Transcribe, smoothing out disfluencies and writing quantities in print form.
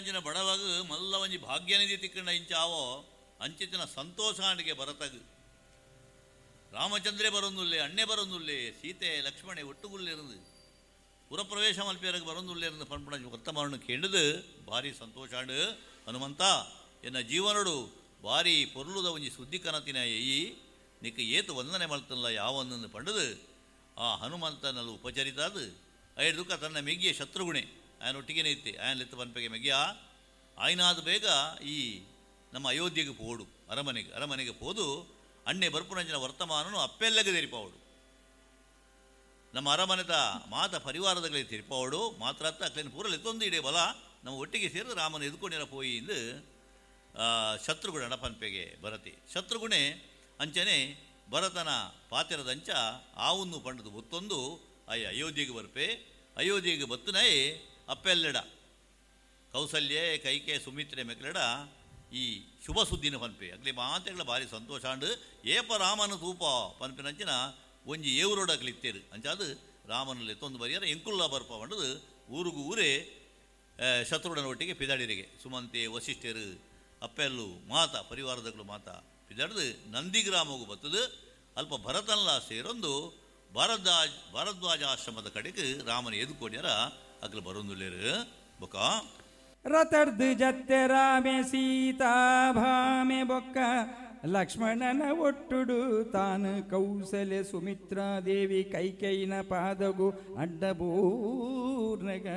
ಎನ್ನಂಚಿನ ಬಡವಗ ಮಲ್ಲ ಒಂಜಿ ಭಾಗ್ಯನಿಧಿ ತಿಕ್ಕಂಡ ಇಂಚಾವೋ ಅಂಚಿತಿನ ಸಂತೋಷಾಂಡಿಗೆ ಭರತಗ್. ರಾಮಚಂದ್ರೇ ಬರೊಂದುಲ್ಲೆ, ಅಣ್ಣೆ ಬರೊಂದುಲ್ಲೆ, ಸೀತೆ ಲಕ್ಷ್ಮಣೆ ಒಟ್ಟುಗುಲ್ಲೆರಂದು ಪುರಪ್ರವೇಶ ಮಲ್ಪಿಯರಗ್ ಬರೊಂದುಲ್ಲೆರಂದು ಪನ್ಪುಣ ವರ್ತಮಾನ ಕೇಂಡದು ಭಾರಿ ಸಂತೋಷಾಂಡ್. ಹನುಮಂತ ಎನ್ನ ಜೀವನಡು ಭಾರಿ ಪೊರ್ಲುದ ಒಂಜಿ ಸುದ್ದಿ ಕನತಿನ ಎಯಿ ನಿಕ್ಕ ಏತು ವಂದನೆ ಮಲ್ತಲ್ಲ ಯಾವೊಂದನ್ನು ಪಂಡದು ಆ ಹನುಮಂತನಲ್ಲಿ ಉಪಚರಿತಾದು ಐದುಕ ತನ್ನ ಮೆಗ್ಗಿಯ ಶತ್ರುಗುಣೆ ಆಯನ ಒಟ್ಟಿಗೆನೇ ಇತ್ತೆ ಆಯನ ಲೆತ್ತು ಪನ್ಪೆಗೆ ಮೆಗ್ಗಿಯ ಆಯ್ನಾದ ಬೇಗ ಈ ನಮ್ಮ ಅಯೋಧ್ಯೆಗೆ ಪೋಡು ಅರಮನೆಗೆ ಅರಮನೆಗೆ ಪೋದು ಅಣ್ಣೆ ಬರ್ಪುನಂಚಿನ ವರ್ತಮಾನನು ಅಪ್ಪೆಲ್ಲಗೆ ತೆರಿಪಾವಡು ನಮ್ಮ ಅರಮನೆದ ಮಾತ ಪರಿವಾರದಗಳಿಗೆ ತೆರಿಪಾವಡು ಮಾತ್ರ ಅಕ್ಲೇನು ಪೂರ ಲೆತ್ತೊಂದು ಇಡೇ ಬಲ ನಮ್ಮ ಒಟ್ಟಿಗೆ ಸೇರಿದ ರಾಮನ ಎದುಕೊಂಡಿರ ಪೋಯಿ ಎಂದು ಶತ್ರುಗುಣ ಪನ್ಪೆಗೆ ಭರತಿ ಶತ್ರುಗುಣೆ ಅಂಚನೆ ಭರತನ ಪಾತಿರದಂಚ ಆವನ್ನು ಪಂಡದು ಒತ್ತೊಂದು ಅಯ್ಯ ಅಯೋಧ್ಯೆಗೆ ಬರ್ಪೆ ಅಯೋಧ್ಯೆಗೆ ಬತ್ತುನಯೇ ಅಪ್ಪೆಲ್ಲೆಡ ಕೌಸಲ್ಯೆ ಕೈಕೆ ಸುಮಿತ್ರೆ ಮೆಕ್ಲೆಡ ಈ ಶುಭ ಸುದ್ದಿನ ಪನ್ಪೆ ಅಗ್ಲಿ ಮಾತೆಗಳ ಭಾರಿ ಸಂತೋಷ ಅಂಡು ಏಪ ರಾಮನ ತೂಪ ಪನ್ಪಿನಂಚಿನ ಒಂಜಿ ಏವರೋಡ ಅಕ್ಲಿತ್ತೇರು ಅಂಚಾದು ರಾಮನಲ್ಲಿ ಎತ್ತೊಂದು ಬರಿಯರ ಎಂಕುಲ್ಲ ಬರ್ಪ ಪಂಡದು ಊರುಗು ಊರೇ ಶತ್ರುಡನ ಒಟ್ಟಿಗೆ ಪಿದಾಡಿರಿಗೆ ಸುಮಂತೆ ವಸಿಷ್ಠರು ಅಪ್ಪೆಲ್ಲು ಮಾತ ಪರಿವಾರದಗಳು ಮಾತ ಪಿದಾಡ್ದು ನಂದಿಗ್ರಾಮಗೂ ಬತ್ತದು ಅಲ್ಪ ಭರತನ್ಲ ಸೇರೊಂದು ಭಾರದ್ವಾಜ ಆಶ್ರಮದ ಕಡೆಗೆ ರಾಮನ ಎದುಕೋಡ್ಯಾರ ಅಗ್ಲು ಬರೊಂದುಲ್ಲೇರು ಬೊಕ ರತರ್ದು ಜತ್ತೆ ರಾಮೆ ಸೀತಾ ಭಾಮೆ ಬೊಕ್ಕ ಲಕ್ಷ್ಮಣನ ಒಟ್ಟುಡು ತಾನು ಕೌಸಲ್ಯ ಸುಮಿತ್ರಾ ದೇವಿ ಕೈಕೈನ ಪಾದಗು ಅಡ್ಡಬೂರ್ನಗ.